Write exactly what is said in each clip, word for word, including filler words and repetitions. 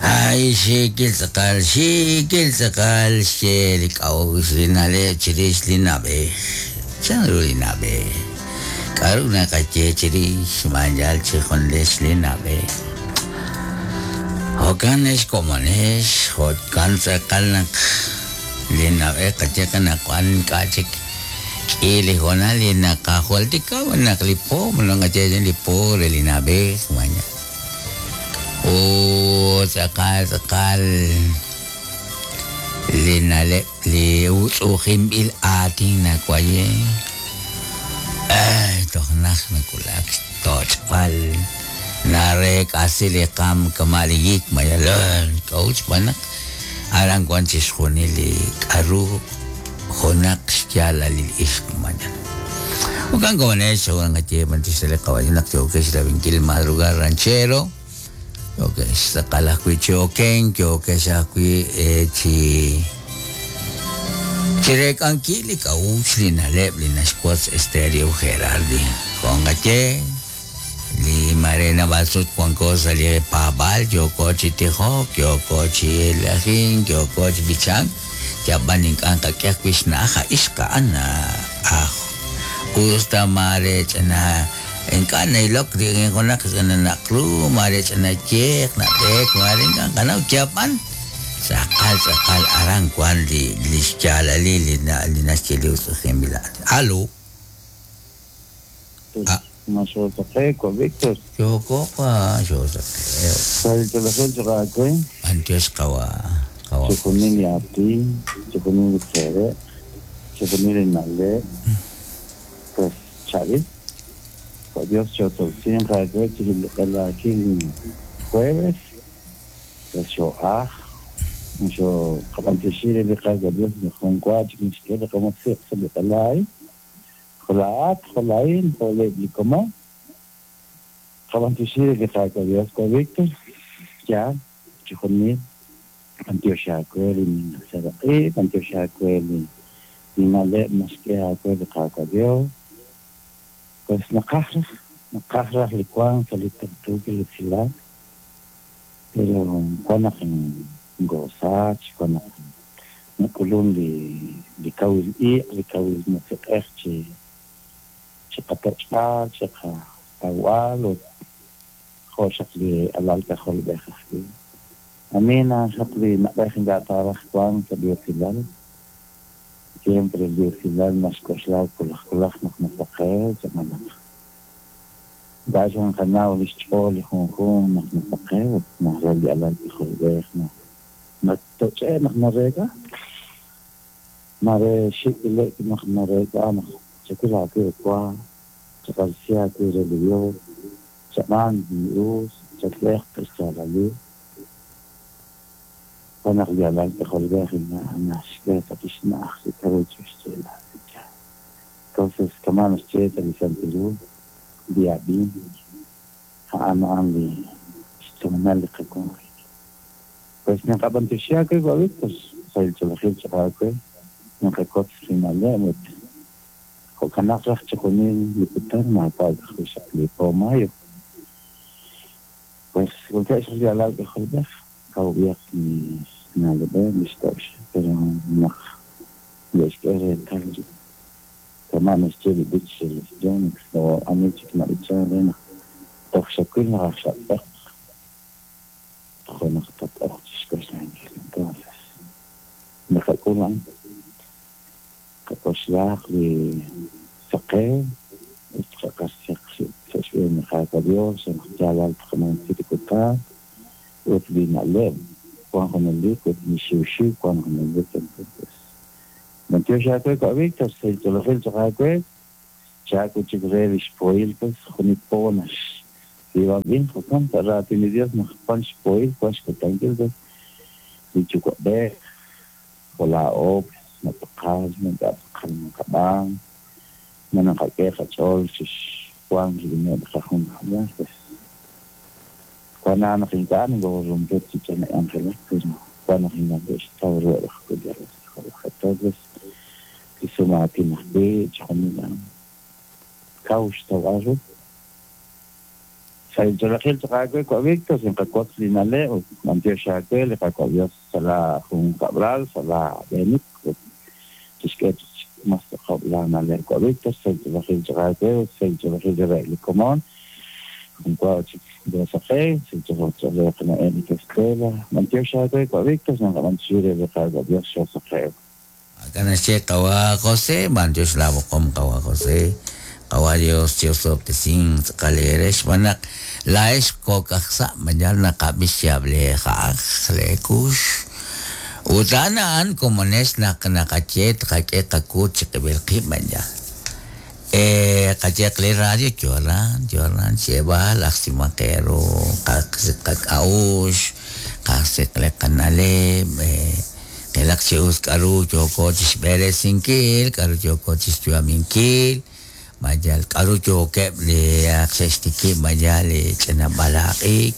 Ay, xiikil tz'aqal, xiikil tz'aqal, xye li k'a'uxl li na'leb' chirix li na'b'ej. Chanru li na'b'ej? K'aru naqaye chirix xmaanyal chi junlex li na'b'ej? Jo'kan ex komonex, jo'kan tz'aqal naq li na'b'ej qaye naq wan ink'a' chik k'i li hoonal li naqajultika naq li po, naqaye li po re li na'b'ej, mañana. Oh, tz'aqal tz'aqal li na'leb' li utz'u'ujinb'il aatin nawaye. Ay, toj naj nakulak xtoch'b'al nareek'asi li qaam kama' li yik mayal k'a'ut xb'aan naq aran wan chixjunil li k'aru junaq xyaalalil ixq mañana. Jo'kan komonex jo'kan qaye b'antiox li qawaye naq yookex rab'inkil Madrugar Ranchero. Yookex tz'aqal ajwi' chi okenk, yookex ajwi' chi chireek'ankil li k'a'uxl li na'leb' li naxwotz Estéreo Gerardi. Jo'kan qaye li mare naab'al sut wanko sa' li paab'aal, yooko chi tijok, yooko chi elajink, yooko chi b'ichank, yab'an ink'a' qak'e ajwi' xna'aj a ixq a'an aj usta mare ch'ina ink'a' nailok rik'in junaq ch'ina naqru, mare ch'ina yeq, nab'eek, mare ink'a' qanaw yab'an tz'aqal tz'aqal aran wan li li xyaalalil li na li naxye li utz'u'ujinb'il aatin. Alo. Ah. Ma xoosaqe, Víctor. Yooko pa xoosaqe. Sal chaqaakwe. B'antiox qawa qawa. Chixjunil li aatin, chixjunil li seere', chixjunil li na'leb'. Pues chaab'il. Por Dios xootawsin qaakwe chixliq'elaakil jueves. Pues xo'aj. Xo qab'antioxi li Qaawa' Dios jun wa chik nixk'e li qamusiq sa' li q'elaay. Jolaat, jolaín, jole como. Qab'antioxi li Qaawa' Dios ko Víctor. Ya, chixjunil. B'antioxaakwe li seraq'i, b'antioxaakwe li li na'leb' naxk'e aakwe li Qaawa' Dios. Pues naqaj raj, naqaj raj li wank sa' li tuqtuukil usilal. Pero wan naq ngosach, wan naq nak'ulun li li kawil iq', li kawil musiq'ej chi chi qatoch'b'al, chi qatawb'al ut jo' xaq li alal k'ajolb'ej ajwi'. Amina xaq li na'b'ej ink'a' taaraj wank sa' li usilal. Siempre li usilal naxk'oxla kulaj kulaj naq nasaqe, ch'amalaq. Ink'a' xan qanaw li xch'ool li junjunq naq nasaqe ut naq li alal k'ajolb'ej naq natoch'e naq nareek'a. Mare xik'ilek naq nareek'a naq chakil aakwe wa, chaqalsi aakwe re li Dios, chab'an li us, chak'ej xyaalalil. Wan naq li alal k'ajolb'ej naxk'e sa' lix na'aj li k'aru xyaalal. Entonces, kama' naxye sa' li Santil Hu, li ab'ink, a'an a'an li xtoonal li qawanjik. Pues naqab'antioxi aakwe Víctor, sa' li ch'oolejil chaqaakwe, naqakotz li na'leb' ut jo'kanaq raj chixjunil li kutan maawa' ajwi' xaq li po mayo. Pues wankeb' xaq li alal k'ajolb'ej, kawb'ihaq li na'leb'eb' li xto'x, pero naq le'xk'e reetal kama' naxye li b'ich re los Young's o ani chik nab'ichan re naq toj xawil naq aj xatz'eq, jo' naq tat'oq chixk'oxlankil. Entonces, naqak'ul a'an, qak'oxlaaq li saqew ut qaq'axaq sa' xb'een li Qaawa' Dios, naq yaalal tqanumsi li kutan ut li na'leb' wan junelik ut li xiwxiw wan junelik. Entonces, b'antiox aakwe ko Víctor, sa' ch'oolejil chaq aakwe, chaak'u chik re li xpohil pues junit po nax tz'iib'anb'il jo'kan sa' raatin li Dios naq wan xpohil, wan xkutankil pues li yuwa'b'ej jo' laa'o pues nataqal, ink'a' tz'aqal naqab'aan, ma naqak'e qach'ool chixwank rik'ineb' qajunkab'al pues wan naq ink'a' nokorompet chi ch'ina k'anjelak, pero wan naq ink'a' ke'xtaw ruheb' ajwi' li alal k'ajolb'ej. Entonces, li sumaatin ajwi' chixjunil a'an kaw xtawb'al ru. Saych'olejil chaq aawe wa Víctor sinqakwotz li na'leb' ut b'antiox aawe li Qaawa' Dios sa' la junkab'lal sa' la b'eenik ut tixk'e mas tz'aqob' la na'leb' wa Víctor saych'olejil chaq aawe ut saych'olejil re li komon junwa chik Dios aqe saych'olejil qana'en Estela b'antiox aawe wa Víctor sinqab'antioxi re li Qaawa' Dios xosaqew. Acá naxye qawa José b'antiox la boqom qawa José qawa Dios chiusob'tesin tz'aqal erex xb'aan naq laa'ex kok'aj sa' mañal naqab'ix xyable ja'aj leekux ut a'an a'an komonex naq naqaye tqak'e qakuut chiqib'il qib' mañal eh qayeq li radio yoran yoran xyeb'al ajsimaqeru qak'a'ux qajsiq li qanaleb' eh qilaq chi us k'aru yooko chixb'eresinkil k'aru yooko chixyu'aminkil mayal k'aru yookeb' li xe'xtikib' mayal li ch'ina b'alaq'ik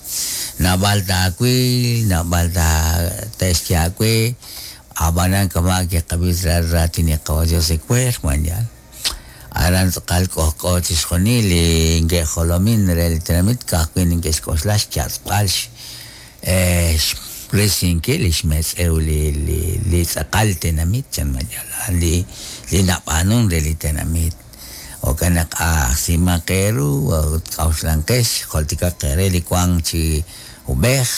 naab'al taawil naab'al te'xye aawe ab'anan kama' kiqab'is raatin li Qawa Dios ewer mayal aran tz'aqal k'ojk'o chixjunil li nke'jolomin re li tenamit ka'ajwi' ninke'xk'oxla xyatz'b'al eh resinkil li xmetz'ew li li li tz'aqal tenamit chan mayal li li nab'aanun re li tenamit jo'kan naq ajsimaqeru ut k'auxlanqex joltikaq qere li wank chi ub'ej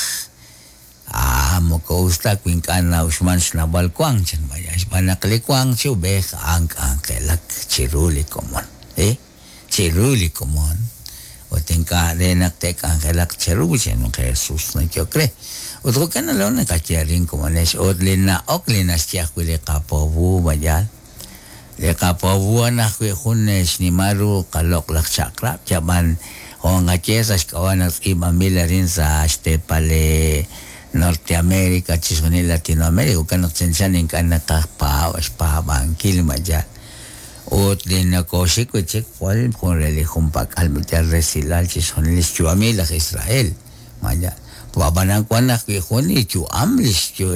ah moko us ta wi ink'a' na'uxman xnawb'al wank chan mayal xb'aan naq li wank chi ub'ej a'an k'anjelak chiru li komon eh chiru li komon ut ink'a' re naq te'k'anjelaq cheru chan Jesús nayok re ut jo'kan nalo naqaye arin komonex ut li na'ok li naxye ajwi' li qapowu mayal li qapowu a'an ajwi' jun xnimal ru qaloq' laj chaq'rab' yab'an jo'nqaye sa' xk'ab'a' naq tz'iib'anb'il arin sa' xteepal Norteamérica chixjunil Latinoamérica jo'kan naq chanchan ink'a' naqajpaab' xpaab'ankil mayal ut li nakoxik wi' chik jwal jun re li junpak'al mayal resilal chixjunil li xyu'amil laj Israel mayal ab'anan wan ajwi' jun li yu'am li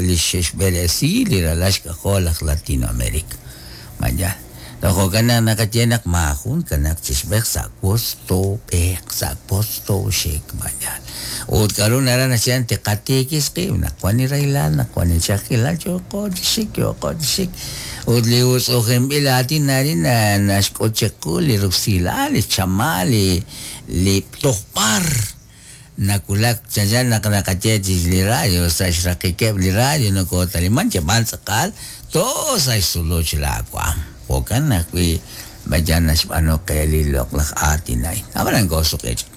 li xe'xb'eresi li ralal xk'ajol laj Latinoamérica mayal jo'kan naq naqaye naq maajun kanak chixb'ej sa' wosto b'eq sa' wosto xik mayal ut k'aru nara naxye tiqatiikis qib' naq wan li rahilal naq wan li ch'a'ajkilal yooko chi xik yooko chi xik ut li utz'ujenb'il aatin arin naxk'ut chiqu li rusilal li chamal li li tojb'ar nakulak chanchan naq naqaye chi li radio sa' xraqikeb' li radio nokotaliman yab'an tz'aqal to sa' xsuluch laawaam jo'kan ajwi' mayan naxb'aanu qe li loq'laj aatin a'in ab'anan koosuq'e chaq.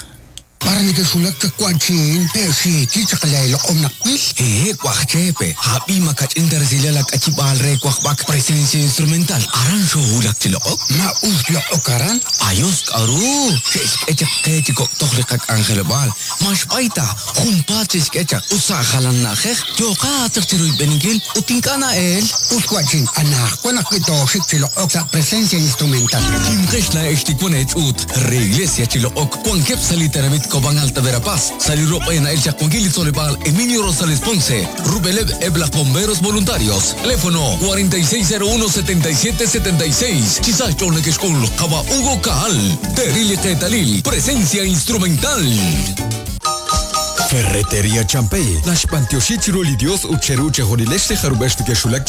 Para nekexulak chakuanchin, pe'xiki chaqalayloq'om naqwil. Eh, kuajchepe, habi makach'in tarsilal ak'achib'al re kuajb'ak presencia instrumental. Aran xohulak chiloq'ok. Ma us loq'ok aran. Ayos k'aru, xe'xk'e chaq qe chi kok'toj li qak'anjelob'aal. Maxb'ayta, junpaat xe'xk'e chaq usa' jalan na'ajej, yoqa chaq chiruyb'eninkil ut ink'a' na'el. Us kuachin, anajwan ajwi' tooxik chiloq'ok sa' presencia instrumental. Kimqex la'ex tikwan ech'ut, re iglesia chiloq'ok, wankeb' sa' li tenamit Cobán Alta Verapaz, Salir Ropa en el Chacuanquil y Solebal, Emilio Rosales Ponce, Rubeleb Ebla Bomberos Voluntarios, teléfono cuarenta y seis cero uno setenta y siete setenta y seis, Chisacho Nequexcul, Jaba Hugo Caal, Terili Ketalil, presencia instrumental. Ferretería Champey, Nash Pantioshi Chiruli Dios Ucheru Chejonilesh Jarubesh Keshulak.